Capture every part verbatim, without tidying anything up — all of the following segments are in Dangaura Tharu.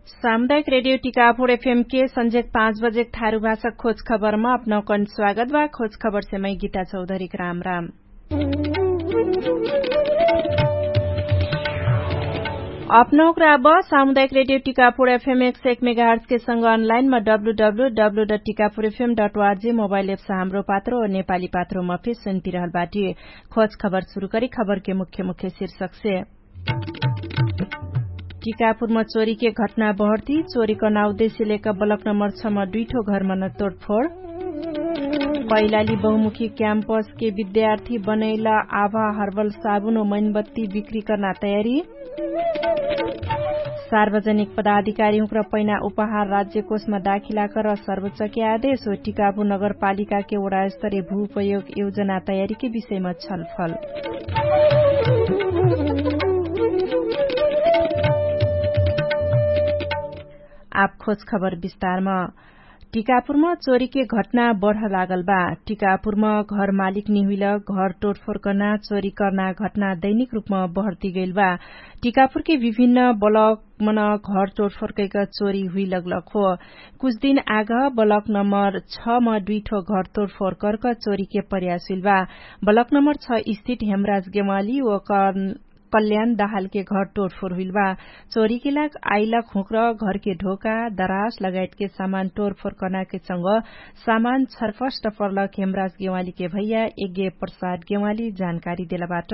सामुदायिक रेडियो टिकापुर एफएम के संझेक पाँच बजेक थारु भाषा खोज खबरमा अपनौकन स्वागत बा। खोज खबर से मै गीता चौधरीक राम राम। अपनौक राब सामुदायिक रेडियो टिकापुर एफएम एक सय एक मेगाहर्स के संग अनलाइन मा W W W dot Tikapur FM dot ORG mobile apps Hamro Patro नेपाली पात्रोमा फिर सुन्तिरहल बाटी। खोज खबर सुरु करी खबर के मुख्य मुख्य शीर्षक से। टिकापुरमा चोरीके घटना बहर्ती चोरीकर्ना उद्देश्य लेक बलक नम्बर छ मा दुइठो घरमन तोडफोड। कैलाली बहुमुखी क्याम्पसके विद्यार्थी बनैला आभा हर्बल साबुन ओ मैनबत्ती बिक्रीकर्ना तयारी। सार्वजनिक पदाधिकारीहुँक्र पैना उपहार राज्यकोषमा दाखिलाकर सर्वोच्चके आदेश ओ टिकापुर नगरपालिकाके ओडास्तरे भूपयोग योजना तयारीके विषयमा छलफल। आप खोज खबर विस्तारम। टिकापुरम चोरीके घटना बढ लागल बा। टिकापुरम घर मालिक निहुइल घर टोटफोर कर्ना चोरी कर्ना घटना दैनिक रुपम बढती गैल बा। टिकापुरके विभिन्न बलकमन घर टोटफोर कैक चोरी हुइ लगलक हो। कुछ दिन आग बलक नम्बर छ म दुइठो घर तोडफोर कर्क चोरीके प्रयास हुइल बा। बलक नम्बर छ स्थित हेमराज गेवाली ओकर कल्याण दहालके घर तोडफोर हुइल बा। चोरीके लाग आइलक हुँक्र घरके ढोका दरास लगायतके सामान तोडफोर कर्नाके संग सामान छरफस्ट पर्लक हेमराज गेवालीके भैया यज्ञ प्रसाद गेवाली जानकारी देलबाट।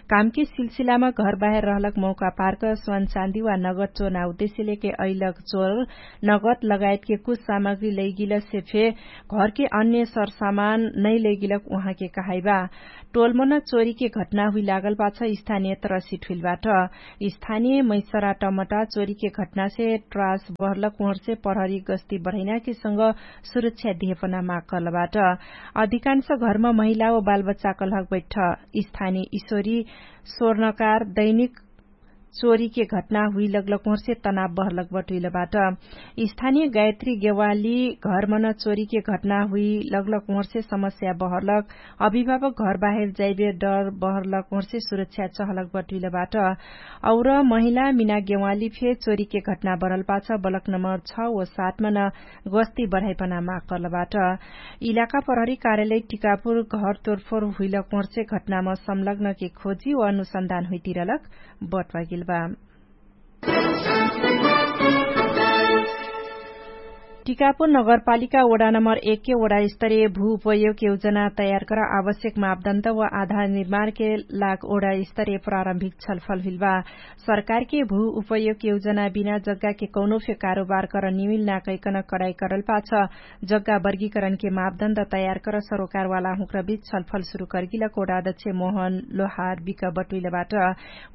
कामके सिलसिलामा घरबाहेर रहलक मौका पार्क स्वानचान्दी वा नगद चोर्ना उद्देश्य लेके अइलक चोर नगद लगायतके कुछ सामग्री लैगिलसे फे घरके अन्य सरसामान नै लैगिलक उहाँके कहाइबा। टोलमन चोरीके घटना हुइलागल पाछ स्थानिय त्रसित हुइलबाट। स्थानिय मैसरा टमटा चोरीके घटनासे ट्रास बहरलक उहरसे प्रहरी गस्ती बढैनाके संग सुरक्षा दिहेपना माग कर्लबाट। अधिकांश घरमा महिला व बालबच्चा कलहक बैठ। स्थानिय इसोरी स्वर्णकार दैनिक चोरीके घटना हुइ लगलक उहरसे तनाव बहरलक बटुइलबाट। स्थानिय गायत्री गेवाली घरमन चोरीके घटना हुइ लगलक उहरसे समस्या बहरलक अभिभावक घरबाहेर जाइबे डर बहरलक उहरसे सुरक्षा चहलक बटुइलबाट। और महिला मिना गेवाली फे चोरीके घटना बरल पाछ बलक नम्बर छ व सातमन गस्ती बढाइपना माग कर्लबाट। इलाका प्रहरी कार्यालय टिकापुर घर तोरफोर हुइलक उहरसे घटनाम संलग्नके खोजी व अनुसन्धान हुइतिरलक बटवागिल बा। टिकापुर नगरपालिका ओडा नम्बर एकके ओडा स्तरीय भू उपयोग योजना तयार कर आवश्यक मापदण्ड व आधार निर्माणके लाग ओडा स्तरीय प्रारम्भिक छलफल हुइल बा। सरकारके भू उपयोग योजना बिना जग्गाके कौनो फे कारोबार कर निमिल नाकैकन कडाइ करल पाछ जग्गा वर्गीकरणके मापदण्ड तयार कर सरोकारवाला हुँक्र बिच छलफल सुरु करगिलक ओडा अध्यक्ष मोहन लोहार बिक बटुइलबाट।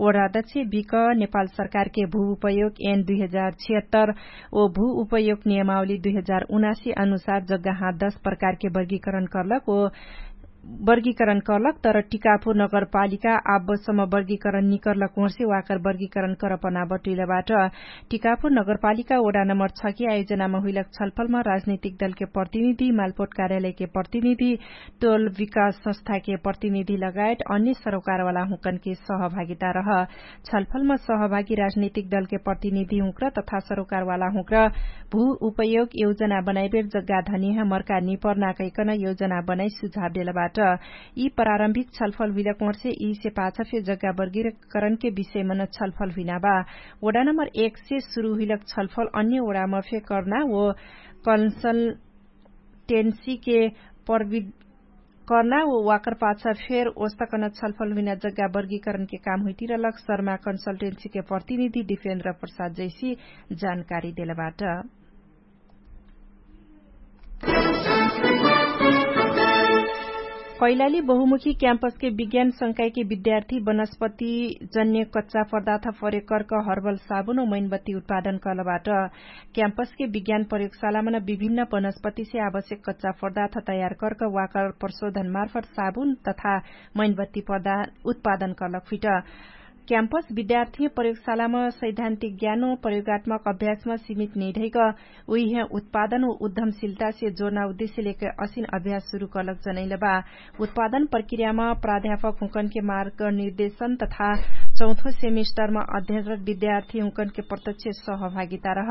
ओडा अध्यक्ष बिक नेपाल सरकारके भू उपयोग एन दुई हजार छिहत्तर ओ भू उपयोग नियमावली दुई हजार उनासी अनुसार जग्गा हाँ दस प्रकारके वर्गीकरण कर्लक ओ वर्गीकरण कर्लक तर टिकापुर नगरपालिका आबसम्म वर्गीकरण निकर्लक उहर्से वाकर वर्गीकरण करपना बटुइलबाट। टिकापुर नगरपालिका ओडा नम्बर छके आयोजनामा हुइलक छलफलमा राजनैतिक दलके प्रतिनिधि मालपोट कार्यालयके प्रतिनिधि टोल विकास संस्थाके प्रतिनिधि लगायत अन्य सरोकारवाला हुँकनके सहभागिता रह। छलफलमा सहभागी राजनैतिक दलके प्रतिनिधि हुँक्र तथा सरोकारवाला हुँक्र भू उपयोग योजना बनाइबेर जग्गा धनिह मर्का निपर्ना कैकन योजना बनाइ सुझाव देलबाट। यी प्रारम्भिक छलफल हुइलक उहर्से यीसे पाछ फे जग्गा वर्गीकरणके विषयमन छलफल हुइना बा। ओडा नम्बर एकसे सुरु हुइलक छलफल अन्य ओडाम फे कर्ना ओ कन्सल्टेन्सीके प्रविध कर्ना ओ वाकर पाछ फेर ओस्तकन छलफल हुइना जग्गा वर्गीकरणके काम हुइतिरलक शर्मा कन्सल्टेन्सीके प्रतिनिधि दिपेन्द्र प्रसाद जैसी जानकारी देलबाट। कैलाली बहुमुखी क्याम्पसके विज्ञान संकायके विद्यार्थी वनस्पति जन्य कच्चा पदार्थ प्रयोग कर्क हर्बल साबुन ओ मैनबत्ती उत्पादन कर्लबाट। क्याम्पसके विज्ञान प्रयोगशालामन विभिन्न वनस्पतिसे आवश्यक कच्चा पदार्थ तयार कर्क वाकर प्रशोधन मार्फत साबुन तथा मैनबत्ती पदा उत्पादन कर्लक फिट। क्याम्पस विद्यार्थी प्रयोगशालाम सैद्धान्तिक ज्ञानो प्रयोगात्मक अभ्यासम सीमित निधैक उइहे उत्पादन व उद्धमशिलतासे जोर्ना उद्देश्यलेक असिन अभ्यास सुरु कर्लक जनैलबा। उत्पादन प्रक्रियाम प्राध्यापक हुँकनके मार्गनिर्देशन तथा चौथो सेमिस्टरमा अध्ययनरत विद्यार्थी हुँकनके प्रत्यक्ष सहभागिता रह।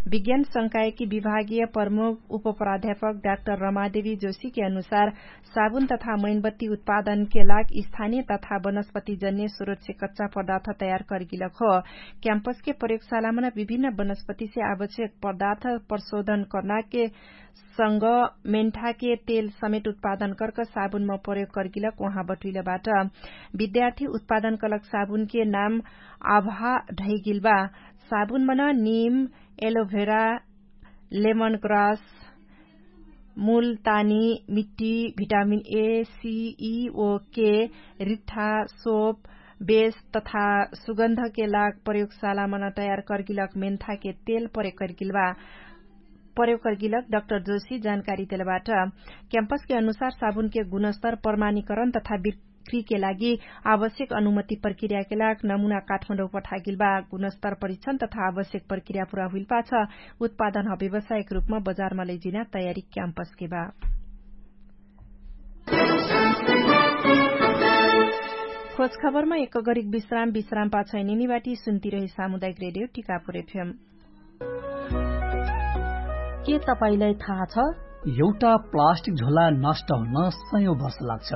विज्ञान संकायकी विभागीय प्रमुख उपप्राध्यापक डाक्टर रमादेवी जोशीके अनुसार साबुन तथा मैनबत्ती उत्पादनके लाग स्थानीय तथा वनस्पतिजन्य स्रोतसे कच्चा पदार्थ तयार करगिलक हो। क्याम्पसके प्रयोगशालामन विभिन्न वनस्पतिसे आवश्यक पदार्थ प्रशोधन कर्नाके संग मेन्ठाके तेल समेट उत्पादन कर्क साबुनमा प्रयोग कर्गिलक उहाँ बटुइलबाट। विद्यार्थी उत्पादन कलक साबुनके नाम आभा ढैगिलबा। साबुनमन निम, एलोभेरा, लेमन ग्रास, मुलतानी मिट्टी, भिटामिन ए सी ई ओ के, रिठ्ठा, सोप, बेस तथा सुगन्धके लाग प्रयोगशालामन तयार कर्गिलक मेन्थाके तेल प्रयोग कर्गिलबा। प्रयोग कर्गिलक डक्टर जोशी जानकारी देलबाट। क्याम्पसके अनुसार साबुनके गुणस्तर प्रमाणीकरण तथा बिक्रीके लागि आवश्यक अनुमति प्रक्रियाके लाग नमुना काठमाडौँ पठागिलबा। गुणस्तर परीक्षण तथा आवश्यक प्रक्रिया पुरा हुइलपाछ उत्पादन ह व्यवसायिक रूपमा बजारमा लैजिना तयारी क्याम्पसके बा। खोजखबरमा एक गरिक विश्राम विश्राम पाछ निनिबाटी सुन्तिरहे सामुदायिक रेडियो टिकापुर एफएम। के तपाईंलाई थाहा छ? एउटा प्लास्टिक झोला नष्ट हुन सयौं वर्ष लाग्छ।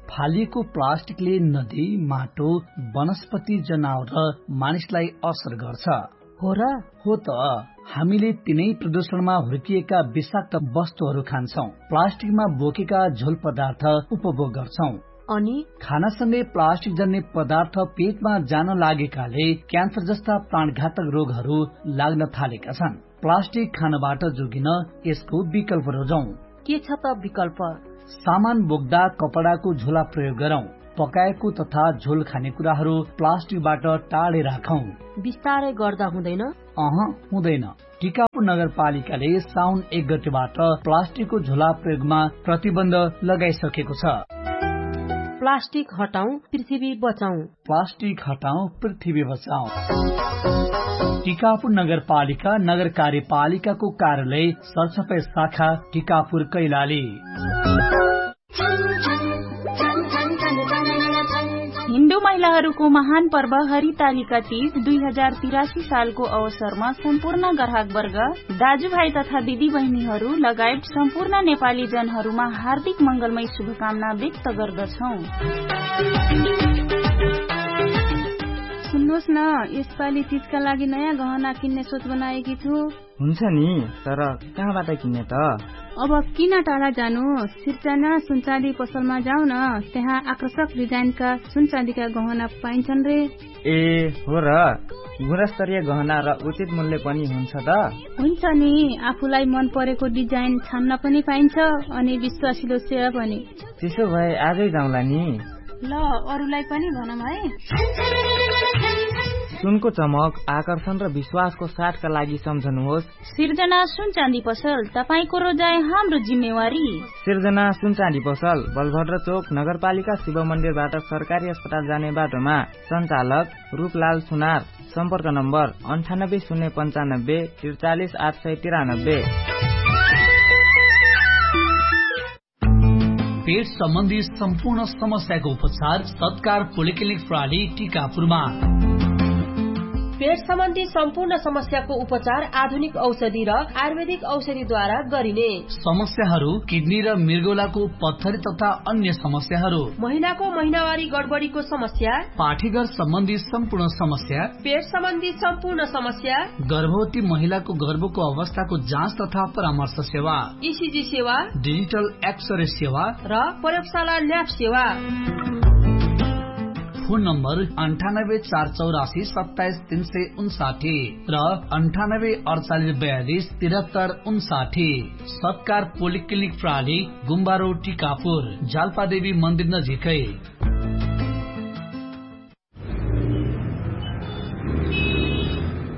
फालिएको प्लास्टिकले नदी, माटो, वनस्पति, जनावर र मानिसलाई असर गर्छ। हो र? हो त। हामीले तिनै प्रदूषणमा हुर्किएका विषाक्त वस्तुहरू खान्छौं। प्लास्टिकमा बोकेका झोल पदार्थ उपभोग गर्छौं। अनि खानासँगै प्लास्टिक जन्ने पदार्थ पेटमा जान लागेकाले क्यान्सर जस्ता प्राणघातक रोगहरू लाग्न थालेका छन्। प्लास्टिक खानबाट जोगिन यसको विकल्प रोजौं। के छ त विकल्प? सामान बोक्दा कपडाको झोला प्रयोग गरौं। पकाएको तथा झोल खाने कुराहरू प्लास्टिकबाट टाढे राखौं। बिस्तारै गर्दा हुँदैन? अह, हुँदैन। टिकापुर नगरपालिकाले साउन एक गतेबाट प्लास्टिकको झोला प्रयोगमा प्रतिबन्ध लगाइसकेको छ। प्लास्टिक हटाउँ, पृथ्वी बचाउँ। प्लास्टिक हटाउँ, पृथ्वी बचाउँ। टिकापुर नगरपालिका, नगर कार्यपालिकाको कार्यालय, सरसफाइ शाखा, टिकापुर कैलाली। हिन्दू महिलाहरूको महान पर्व हरितालिका तीज दुई हजार तिरासी सालको अवसरमा सम्पूर्ण ग्राहकवर्ग, दाजुभाइ तथा दिदीबहिनीहरू लगायत सम्पूर्ण नेपाली जनहरूमा हार्दिक मङ्गलमय शुभकामना व्यक्त गर्दछौँ। सुन्नुहोस् न, यसपालि तीजका लागि नयाँ गहना किन्ने सोच बनाएकी छु। हुन्छ नि, तर कहाँबाट किन्ने त? अब किन टाढा जानु? सिर्जना सुनचाँदी पसलमा जाऊ न, त्यहाँ आकर्षक डिजाइनका सुनचाँदीका गहना पाइन्छन् रे। ए, हो र? गुणस्तरीय गहना र उचित मूल्य पनि हुन्छ त? हुन्छ नि, आफूलाई मन परेको डिजाइन छान्न पनि पाइन्छ, अनि विश्वासिलो सेवा पनि। त्यसो भए आजै जाउँला नि। ल, अरूलाई पनि भनौँ है। सुनको चमक, आकर्षण र विश्वासको साथका लागि सम्झनुहोस्। सिर्जना सुनचाँदी पसल, तपाईंको रोजाइ हाम्रो जिम्मेवारी। सिर्जना सुनचाँदी पसल, बलभद्र चोक, नगरपालिका शिव मन्दिरबाट सरकारी अस्पताल जाने बाटोमा। सञ्चालक रूपलाल सुनार। सम्पर्क नम्बर अन्ठानब्बे शून्य पन्चानब्बे त्रिचालिस आठ सय तिरानब्बे। पेट सम्बन्धी सम्पूर्ण समस्याको उपचार सत्कार पोलिक्लिनिक प्रणाली टिकापुरमा। पेट सम्बन्धी सम्पूर्ण समस्याको उपचार आधुनिक औषधि र आयुर्वेदिक औषधिद्वारा गरिने। समस्याहरू किडनी र मृगौलाको पत्थरी तथा अन्य समस्याहरू। महिनाको महिनावारी गडबडीको समस्या। पाठीघर सम्बन्धी सम्पूर्ण समस्या। पेट सम्बन्धी सम्पूर्ण समस्या। गर्भवती महिलाको गर्भको अवस्थाको जाँच तथा परामर्श सेवा। इसिजी सेवा। डिजिटल एक्सरे सेवा। र प्रयोगशाला ल्याब सेवा। फोन नम्बर अन्ठानब्बे चार चौरासी सत्ताइस तीन सय उन्साठी र अन्ठानब्बे अडचालिस बयालिस तिरहत्तर उन्साठी। सत्कार पोलिक्लिनिक प्रणाली, गुम्बारो टिकापुर, जालपादेवी मन्दिर नजिकै।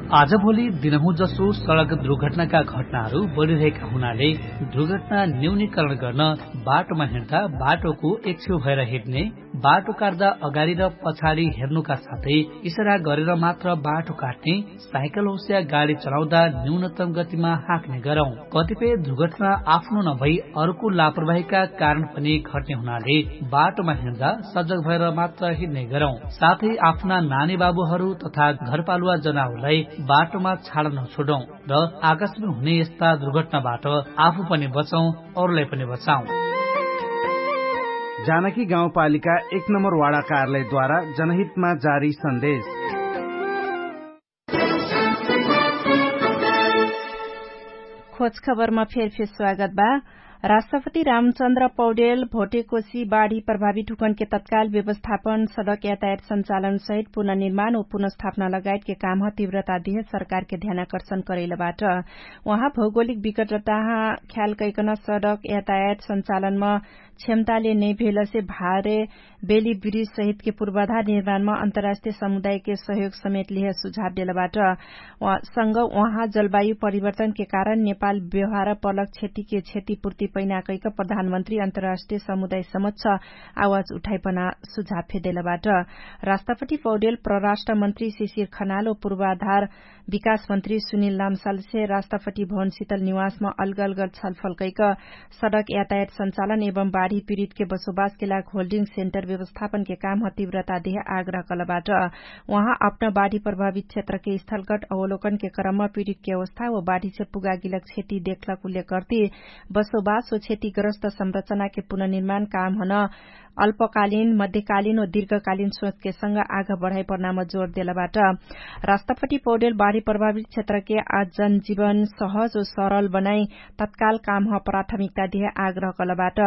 आजभोलि दिनहुँ जसो सडक दुर्घटनाका घटनाहरू बढिरहेका हुनाले दुर्घटना न्यूनीकरण गर्न बाटोमा हिँड्दा बाटोको एक छेउ भएर हिँड्ने, बाटो काट्दा अगाडि र पछाडि हेर्नुका साथै इसरा गरेर मात्र बाटो काट्ने, साइकल होस्या गाडी चलाउँदा न्यूनतम गतिमा हाँक्ने गरौँ। कतिपय दुर्घटना आफ्नो नभई अर्को लापरवाहीका कारण पनि घट्ने हुनाले बाटोमा हिँड्दा सजग भएर मात्र हिँड्ने गरौँ। साथै आफ्ना नानी बाबुहरू तथा घरपालुवा जनाहरूलाई बाटोमा छाड नछोडौँ र आकाशमा हुने यस्ता दुर्घटनाबाट आफू पनि बचौँ, अरूलाई पनि बचाउँ। जानकी गाउँपालिका एक नम्बर वाडा कार्यालयद्वारा जनहितमा जारी सन्देश। खोज खबरमा फेर फेर स्वागत बा। राष्ट्रपति रामचन्द्र पौडेल भोटेकोशी बाढी प्रभावित हुकनके तत्काल व्यवस्थापन, सडक यातायात सञ्चालन सहित पुनर्निर्माण व पुनर्स्थापना लगायतके कामह तीव्रता दिहे सरकारके ध्यानाकर्षण करैलबाट। उहाँ भौगोलिक विकटताह ख्याल कैकन सडक यातायात सञ्चालनमा क्षमताले नै भेलसे भारे बेली ब्रिज सहितके पूर्वाधार निर्माणमा अन्तर्राष्ट्रिय समुदायके सहयोग समेत लिहे सुझाव देलबाट। सँग उहाँ जलवायु परिवर्तनके कारण नेपाल व्यवहार पलक क्षतिके क्षतिपूर्ति पैना कैक प्रधानमन्त्री अन्तर्राष्ट्रिय समुदाय समक्ष आवाज उठाइपना सुझाव फेदेलबाट। राष्ट्रपति पौडेल परराष्ट्रमन्त्री शिशिर खनाल व पूर्वाधार विकासमन्त्री सुनिल लामसालसे राष्ट्रपति भवन शितल निवासमा अलगलगल छलफल कैक सडक यातायात सञ्चालन एवं बाढी पीडितके बसोबासके लाग होल्डिङ सेन्टर व्यवस्थापनके कामह तीव्रता देह आग्रह कलबाट। उहाँ अपना बाढी प्रभावित क्षेत्रके स्थलगट अवलोकनके क्रममा पीडितके अवस्था व बाढीसे पुगागिलक क्षति देखलक उल्लेख गर्ती बसोबास व क्षतिग्रस्त संरचनाके पुनर्निर्माण कामहन अल्पकालीन मध्यकालीन व दीर्घकालीन सोचके संग आघ बढाइ पर्नाम जोर देलबाट। राष्ट्रपति पौडेल बाढी प्रभावित क्षेत्रके आज जनजीवन सहज व सरल बनाइ तत्काल कामह प्राथमिकता देह आग्रह कलबाट।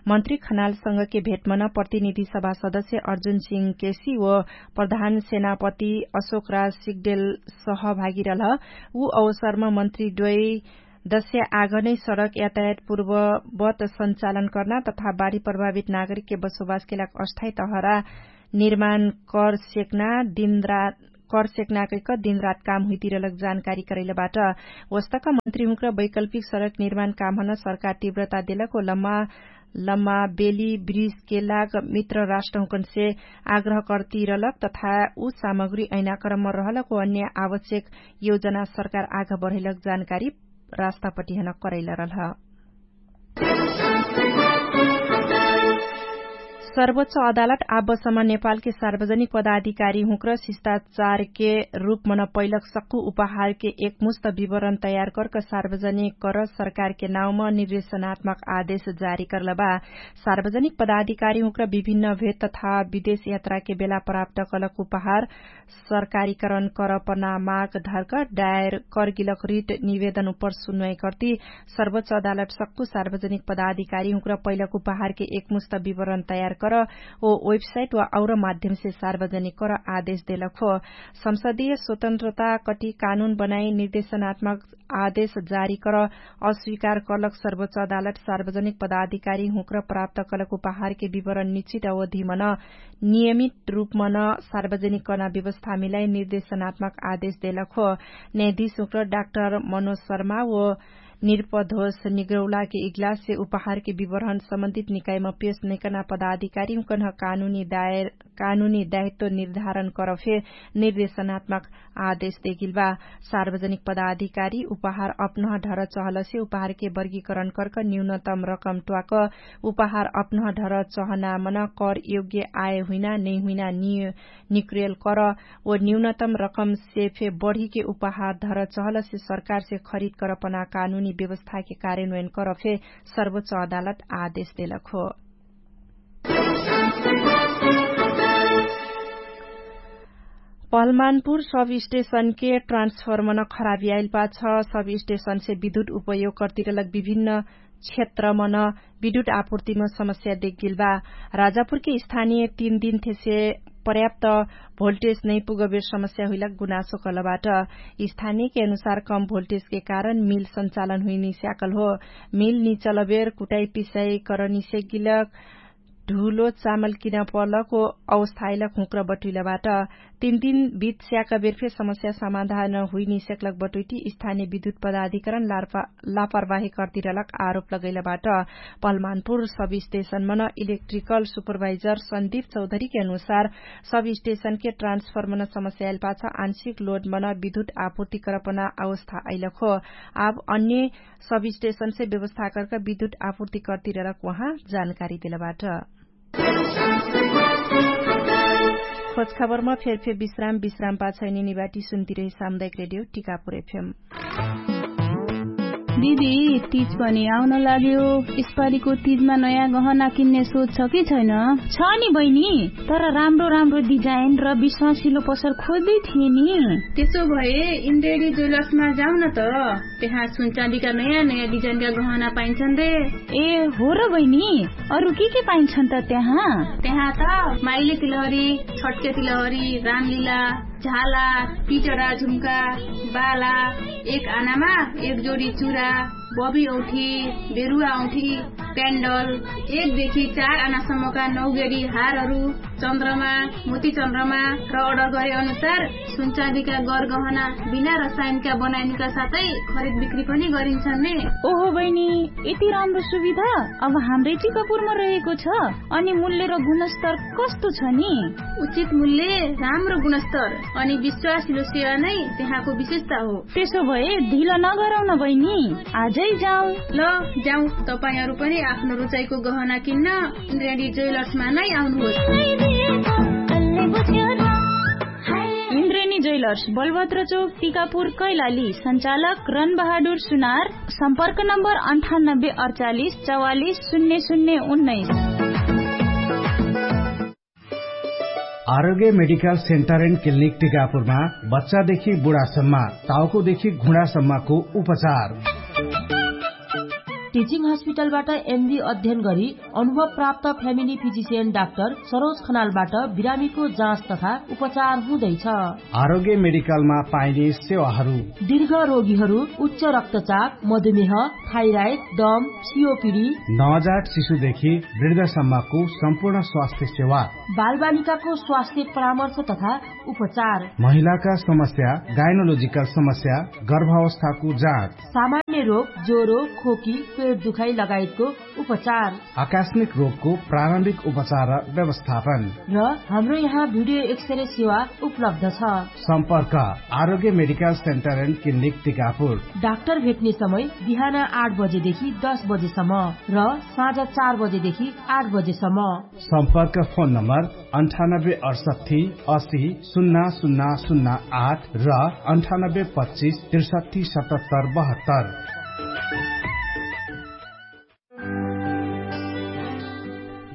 मन्त्री खनालसँगके भेटमन प्रतिनिधि सभा सदस्य अर्जुन सिंह केसी व प्रधान सेनापति अशोक राज सिगदेल सहभागी रहल। उ अवसरमा मन्त्री द्वै दस्या आगनै सडक यातायात पूर्ववत सञ्चालन कर्ना तथा बाढी प्रभावित नागरिकके बसोबासके लाग अस्थायी तहरा निर्माण कर सेक्ना दिनरात कर सेक्ना कैक दिनरात काम हुइतिरलक जानकारी करैलबाट। वस्तक मन्त्रीहुँक्र वैकल्पिक सडक निर्माण कामहन सरकार तीव्रता देलक व लम्मा लम्मा बेली ब्रिजके लाग मित्र राष्ट्रहुँकनसे आग्रह करतिरलक तथा उ सामग्री ऐनाक्रममा रहलक व अन्य आवश्यक योजना सरकार आघ बढैलक जानकारी राष्ट्रपतिहन करैल रहलह। सर्वोच्च अदालत आबसम्म नेपालके सार्वजनिक पदाधिकारी हुँक्र शिष्टाचारके रूपमन पैलक सक्कु उपहारके एकमुस्त विवरण तयार करक सार्वजनिक कर सरकारके नाउँम निर्देशनात्मक आदेश जारी करलबा। सार्वजनिक पदाधिकारी हुँक्र विभिन्न भेद तथा विदेश यात्राके बेला प्राप्त कलक उपहार सरकारीकरण करपना माग धर्क डायर करगिलक रिट निवेदन उपर सुन्वै कर्ति सर्वोच्च अदालत सक्कु सार्वजनिक पदाधिकारी हुँक्र पैलक उपहारके एकमुस्त विवरण तयार कर ओ वेबसाइट वा और माध्यमसे सार्वजनिक कर आदेश देलक हो। संसदीय स्वतन्त्रता कटि कानुन बनाई निर्देशनात्मक आदेश जारी कर अस्वीकार कलक सर्वोच्च अदालत सार्वजनिक पदाधिकारी हुँक्र प्राप्त कलक उपहारके विवरण निश्चित अवधिमन नियमित रूपमन सार्वजनिक कर्ना व्यवस्था मिलाइ निर्देशनात्मक आदेश देलक हो। न्यायाधीश हुँक्र डाक्टर मनोज शर्मा व निर्पधोष निग्रौलाके इग्लाससे उपहारके विवरण सम्बन्धित निकाइम पेश नैकना पदाधिकारी हुँकन्ह कानुनी दायित्व निर्धारण करफे निर्देशनात्मक आदेश देगिल बा। सार्वजनिक पदाधिकारी उपहार अपनह ढर चहलसे उपहारके वर्गीकरण करक न्यूनतम रकम ट्वाक उपहार अपनह ढर चहनामन कर योग्य आय हुइना नैहुइना निक्रेल कर ओ न्यूनतम रकमसे फे बढीके उपहार ढर चहलसे सरकारसे खरिद करपना कानुनी व्यवस्थाके कार्यन्वयन करफे सर्वोच्च अदालत आदेश देलक हो। पहलमानपुर सब स्टेशनके ट्रान्सफर्मन खराबी आइल पाछ सब स्टेशनसे विद्युत उपयोग कर्तिरलक विभिन्न क्षेत्रमन विद्युत आपुर्तिम समस्या देखगिल बा। राजापुरके स्थानीय तीन दिन थेसे पर्याप्त भोल्टेज नैपुगबेर समस्या हुइलक गुनासो कलबाट। स्थानीयके अनुसार कम भोल्टेजके कारण मिल सञ्चालन हुइनी स्याकल हो। मिल निचलबेर कुटाई पिसाई करनी सेगिलक ढुलो चामल किन पर्लको अवस्थाइलक हुँक्र बटुइलबाट। तीन दिन बित स्याक बेरफे समस्या समाधान हुइनिसेक्लक बटुइटी स्थानीय विद्युत पदाधिकरण लापरवाही कर्तिरलक आरोप लगैलबाट। पलमानपुर सब स्टेशनमन इलेक्ट्रिकल सुपरभाइजर सन्दीप चौधरीके अनुसार सब स्टेशनके ट्रान्सफर्मन समस्या आइलपाछ आंशिक लोडमन विद्युत आपूर्ति करपना अवस्था अइलक हो। आब अन्य सब स्टेशनसे व्यवस्थाकरका विद्युत आपूर्ति कर्तिरलक उहाँ जानकारी देलबाट। खोजखबरमा फेरफेर विश्राम विश्राम पाछैनी निबाटी सुन्तिरहे सामुदायिक रेडियो टिकापुर एफएम। दिदी, तिज पनि आउन लाग्यो। यसपालिको तिजमा नयाँ गहना किन्ने सोच छ कि छैन? छ नि बहिनी, तर राम्रो राम्रो डिजाइन र विश्वासिलो पसल खोज्दै थिए नि। त्यसो भए इन्ड्रेडी ज्वेलर्समा जाउन त। त्यहाँ सुनचाँदीका नयाँ नयाँ डिजाइनका गहना पाइन्छन् रे। ए हो र बहिनी, अरू के के पाइन्छन् त त्यहाँ? त्यहाँ त माइले तिलहरी, छट्के तिलहरी, रामलीला, झाला, पिटरा झुम्का, बाला, एक आनामा एक जोडी चुरा, बबी औठी, बेरुवा औठी, क्यान्डल, एक देखि चार आनासम्मका नौगेडी हारहरू, चन्द्रमा, मोती चन्द्रमा र अर्डर गरे अनुसार सुनचाँदीका गरगहना बिना रसायनका बनाइनुका साथै खरिद बिक्री पनि गरिन्छन् ने। ओहो बहिनी, यति राम्रो सुविधा अब हाम्रै टिकापुरमा रहेको छ। अनि मूल्य र गुणस्तर कस्तो छ नि? उचित मूल्य, राम्रो गुणस्तर अनि विश्वासिलो सेवा नै त्यहाँको विशेषता हो। त्यसो भए ढिलो नगरौन बहिनी, आजै जाउँ। ल, जाउँ, तपाईंहरू पनि आफ्नो रुचाइको गहना किन्न इन्द्रेणी ज्वेलर्समा नै आउनुहोस्। इन्द्रेणी ज्वेलर्स, बलभद्र चोक, टिकापुर, कैलाली। सञ्चालक रन बहादुर सुनार। सम्पर्क नम्बर अन्ठानब्बे अडचालिस चौवालिस शून्य शून्य उन्नाइस। आरोग्य मेडिकल सेन्टर एन्ड क्लिनिक टिकापुरमा बच्चादेखि बुढासम्म, टाउकोदेखि घुँडासम्मको उपचार। टिचिङ हस्पिटलबाट एमडी अध्ययन गरी अनुभव प्राप्त फ्यामिली फिजिसियन डाक्टर सरोज खनालबाट बिरामीको जाँच तथा उपचार हुँदैछ। आरोग्य मेडिकलमा पाइने सेवाहरू। दीर्घ रोगीहरू, उच्च रक्तचाप, मधुमेह, थाइराइड, दम, सिओपिडी। नवजात शिशुदेखि वृद्धसम्मको सम्पूर्ण स्वास्थ्य सेवा। बालबालिकाको स्वास्थ्य परामर्श तथा उपचार। महिलाका समस्या, गाइनोलोजिकल समस्या, गर्भावस्थाको जाँच। सामान्य रोग, ज्वरो, खोकी, पेट दुखाइ लगायतको उपचार। आकस्मिक रोगको प्रारम्भिक उपचार र व्यवस्थापन। र हाम्रो यहाँ भिडियो एक्सरे सेवा उपलब्ध छ। सम्पर्क Arogya medical centre and clinic Tikapur. Doctor भेट्ने समय बिहान आठ बजेदेखि दस बजेसम्म र साँझ चार बजेदेखि आठ बजेसम्म। सम्पर्क फोन नम्बर अन्ठानब्बे अडसट्ठी असी सुन्ना सुन्ना सुन्ना आठ र अन्ठानब्बे पच्चिस त्रिसट्ठी सतहत्तर बहत्तर।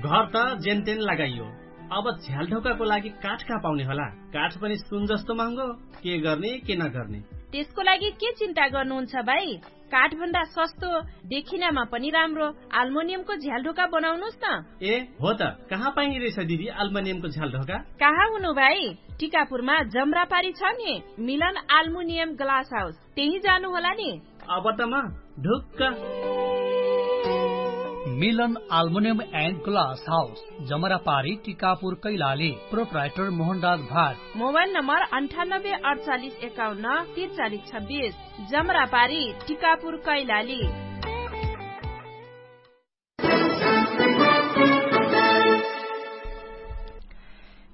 घर त जेनतेन लगाइयो, अब झ्यालढोकाको लागि काठ कहाँ पाउने होला? काठ पनि सुन जस्तो महँगो। के गर्ने के नगर्ने? त्यसको लागि के चिन्ता गर्नुहुन्छ भाइ? काठभन्दा सस्तो, देखिनामा पनि राम्रो आल्मोनियमको झ्यालढोका बनाउनुस् न। ए हो त, कहाँ पाइने रहेछ दिदी आल्मोनियमको झ्यालढोका? कहाँ हुनु भाइ? टिकापुरमा जमरापारी छ नि, मिलन आल्मुनियम ग्लास हाउस, त्यही जानु होला नि। अब त म ढुक्क। मिलन आल्मुनियम एन्ड ग्लास हाउस, जमरापारी, टिकापुर, कैलाली। प्रोप्राइटर मोहनराज भाट। मोबाइल नम्बर अन्ठानब्बे अडचालिस एकाउन्न तिरचालिस छब्बिस। जमरापारी, टिकापुर, कैलाली।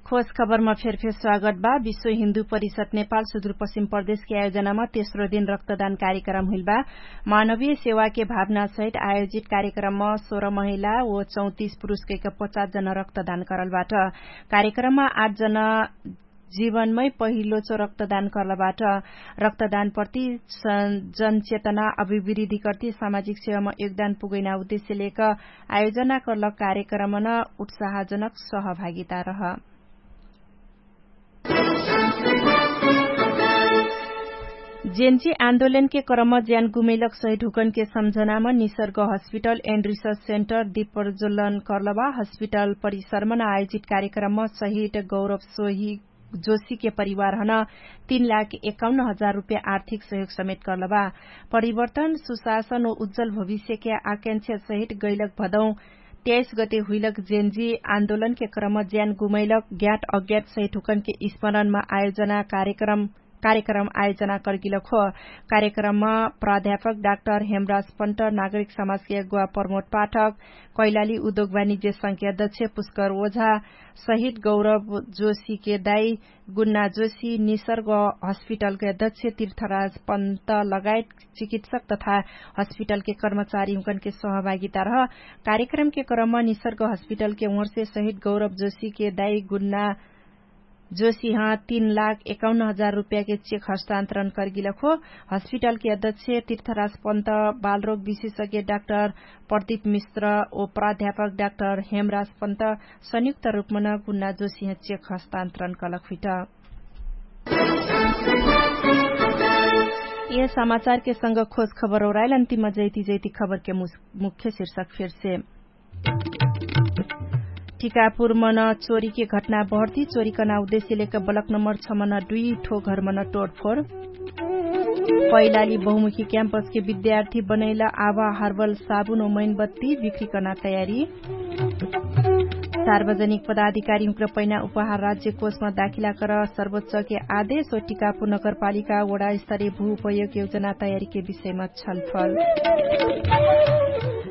खोज खबरमा फेरफेर स्वागत बा। विश्व हिन्दू परिषद नेपाल सुदूरपश्चिम प्रदेशके आयोजनामा तेस्रो दिन रक्तदान कार्यक्रम हुइल बा। मानवीय सेवाके भावनासहित आयोजित कार्यक्रममा सोह्र महिला ओ चौतिस पुरुषकैक पचास जना रक्तदान करल बाट। कार्यक्रममा आठ जना जीवनमै पहिलोचो रक्तदान कर्लबाट। रक्तदान प्रति जनचेतना अभिवृद्धि कर्ति सामाजिक सेवामा योगदान पुगैना उद्देश्य लेक आयोजना कर्ल कार्यक्रमन उत्साहजनक सहभागिता रह। जेन्जी आन्दोलनके क्रम ज्यान गुमैलक सहिद हुकनके सम्झनाम Nisarga hospital and research centre दिपरजोलन कर्लबा। हस्पिटल परिसरमन आयोजित कार्यक्रमम सहिद गौरव सोही जोशीके परिवारहन तीन लाख एकाउन्न हजार रुप्या आर्थिक सहयोग समेत कर्लबा। परिवर्तन सुशासन ओ उज्जल भविष्यके आकांक्षा सहित गैलक भदौ त्याइस गते हुइलक जेन्जी आन्दोलनके क्रम ज्यान गुमैलक ज्ञाट अज्ञाट सहित हुकनके स्मरणमा आयोजना कार्यक्रम कार्यक्रम आयोजना कर्गिलक हो। कार्यक्रममा प्राध्यापक डाक्टर हेमराज पन्त, नागरिक समाजके अगुवा प्रमोद पाठक, कैलाली उद्योग वाणिज्य संख्या अध्यक्ष पुष्कर ओझा, सहित गौरव जोशीके दाई गुन्ना जोशी, निसर्ग हस्पिटलके अध्यक्ष तीर्थराज पन्त लगायत चिकित्सक तथा हस्पिटलके कर्मचारी हुँकनके सहभागिता रह। कार्यक्रमके क्रममा निसर्ग हस्पिटलके ओर्से सहित गौरव जोशीके दाई गुन्ना जोशीह तीन लाख एकाउन्न हजार रुपयाके चेक हस्तान्तरण कर्गिलक हो। हस्पिटलके अध्यक्ष तीर्थराज पन्त, बालरोग विशेषज्ञ डाक्टर प्रदीप मिश्र ओ प्राध्यापक डाक्टर हेमराज पन्त संयुक्त रुपमन गुन्ना जोशीह चेक हस्तान्तरण कलक हुइट। यह समाचारके संग खोज खबर ओराइल अन्तिम जैती जैती खबरके मुख्य शीर्षक फेरसे। टिकापुर मन चोरीके घटना बहर्ती, चोरीकना उद्देश्य लेक बलक नम्बर छ मन दुई ठो घर मन टोडफोर। कैलाली बहुमुखी क्याम्पसके विद्यार्थी बनैल आवा हर्बल साबुन ओ मैनबत्ती बिक्रीकना तयारी। सार्वजनिक पदाधिकारी हुँक्र पैना उपहार राज्य कोषमा दाखिला कर सर्वोच्चके आदेश ओ टिकापुर नगरपालिका वडा स्तरीय भू उपयोग योजना तयारीके विषयमा छलफल।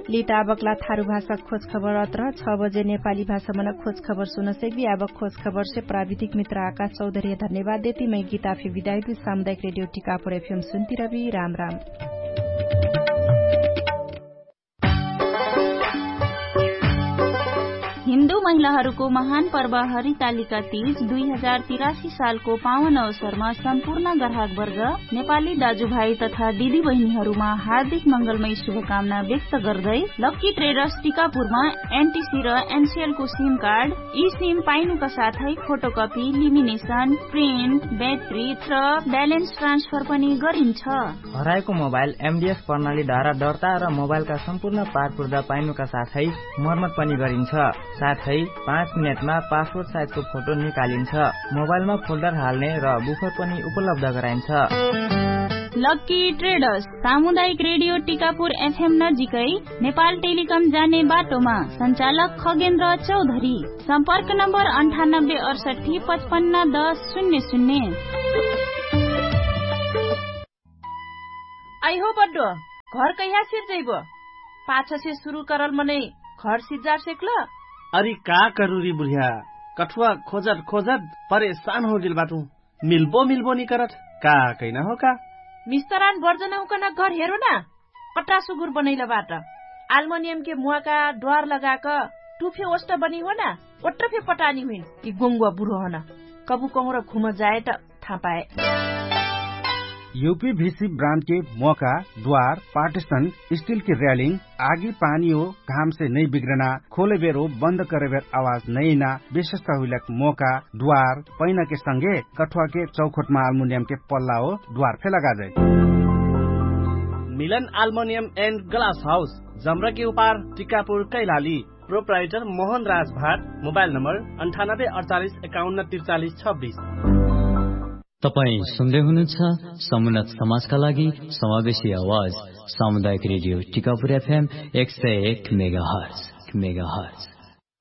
लिताबकला थारु भाषा खोज खबर अत्र छ बजे नेपाली भाषा मन खोज खबर सुनसैबी। आबक खोज खबर से प्राविधिक मित्र आकाश चौधरी धन्यवाद देती मै गीता फिर विदायती सामुदायिक रेडियो टिकापुर एफएम सुन्ती रबी। राम राम। हिन्दू महिलाहरूको महान पर्व हरितालिका तीज दुई हजार तिरासी सालको पावन अवसरमा सम्पूर्ण ग्राहकवर्ग, नेपाली दाजुभाइ तथा दिदीबहिनीहरूमा हार्दिक मङ्गलमय शुभकामना व्यक्त गर्दै लक्की ट्रेडर्स टिकापुरमा एनटिसी र एनसिएलको सिम कार्ड, ई सिम पाइनुका साथै फोटोकपी, लिमिनेसन, प्रिन्ट, ब्याट्री र ब्यालेन्स ट्रान्सफर पनि गरिन्छ। हराएको मोबाइल एमडिएस प्रणालीद्वारा दर्ता र मोबाइलका सम्पूर्ण पारपुर्दा पाइनुका साथै मर्मत पनि गरिन्छ। साथै पाँच मिनेटमा पासपोर्ट साइजको फोटो निकालिन्छ। मोबाइलमा फोल्डर हाल्ने र बुफर पनि उपलब्ध गराइन्छ। लक्की ट्रेडर्स, सामुदायिक रेडियो टिकापुर एफएम नजिकै, नेपाल टेलिकम जाने बाटोमा, सञ्चालक खगेन्द्र चौधरी। सम्पर्क नम्बर अन्ठानब्बे अडसट्ठी पचपन्न दस शून्य शून्य। अइहो बड्डो, घर कहिया सिर्जैबो? पाछसे सुरु करल मनै घर सिर्जार सेक्ल? अरि का करुरी बुढिया, कठुवा खोजत खोजत परेशान होगेल बाटु। मिल्बो मिल्बो निकरत, का कैना हो का? मिस्तरान बर्जनहुँकन घर हेरो ना। कट्टा सुगुर बनैल बाट। आल्मोनियमके मुवाका द्वार लगाक टुफे ओष्ट बनी हो ना। ओट्ट फे पटानी हुइन। यि गोङ्गुवा बुढो हन। कबु कहुँर घुम जाए त थापाए। युपीभिसी ब्रान्डके मोका, द्वार, पार्टिसन, स्टिलके र्यालिङ, आगी पानी हो, घामसे नै बिग्रना, खोलेबेर हो बन्द करेबेर आवाज नैना, विशेषता हुइलक मोका, द्वार, पैनाके संगे कठुवाके चौखोटमा आल्मुनियमके पल्ला हो, द्वार फे लगाजै। मिलन आल्मुनियम एन्ड ग्लास हाउस, जम्रके उपार, टिकापुर, कैलाली। प्रोप्राइटर मोहन राज भाट। मोबाइल नम्बर अन्ठानब्बे अडचालिस एकाउन्न त्रिचालिस छब्बिस। तपाईं सुन्दै हुनुहुन्छ समुन्नत समाजका लागि समावेशी आवाज, सामुदायिक रेडियो टिकापुर एफएम एक सय एक मेगाहर्ज।